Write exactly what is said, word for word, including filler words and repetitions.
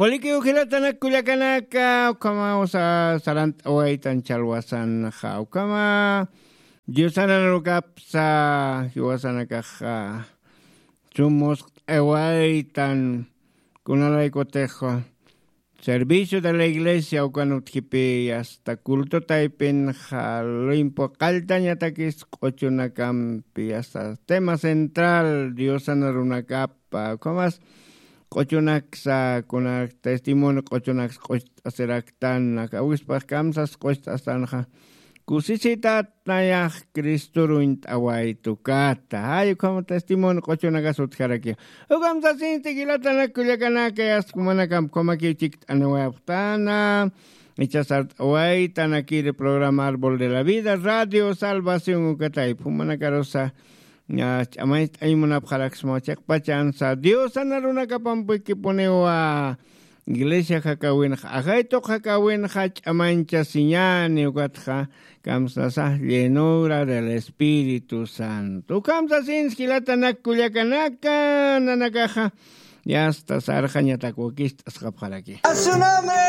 Puliki ujilatanak kullakanaka, ukhamaw sarant'awaytan chalwasanxa, ukhama Diosanan rukapsa jiwasanakaxa sumusq'awaytan, kunalaykutix servicio de la iglesia ukan utjipi hasta culto taypin, jaluyimpu qalltañatakis q'uchunakampi hasta tema central Diosan runakapa, ukhamas q'uchunaksa kuna testimonio q'uchunaksa q'ucht'asiraktan, aka awispax kamsas q'ucht'astanxa kusisitat nayax Cristoruñ t'awaytukata. Ay, ukham testimonio q'uchunakas utjaraki. Ukham sasinti jilatanak kullakanaka, yasta jumanakamp ukhamakiw chikt'aniwayapxtana. Ichasar t'awaytanakiri programa Árbol de la Vida, Radio Salvación ukatayp. Jumanakarusa, ña, ch'amañcht'añ munapxaraksma chiqpachansa Diosana runakapampikipuniwa. Iglesia jakawinxa, ajaytuq jakawinxa ch'amañchasiñani, ukatxa kamsasa llenura del Espíritu Santo. Ukham sasins jilatanak kullakanaka, nanakaxa, yasta sarxañatak wakicht'asqapxaraki. A su nombre.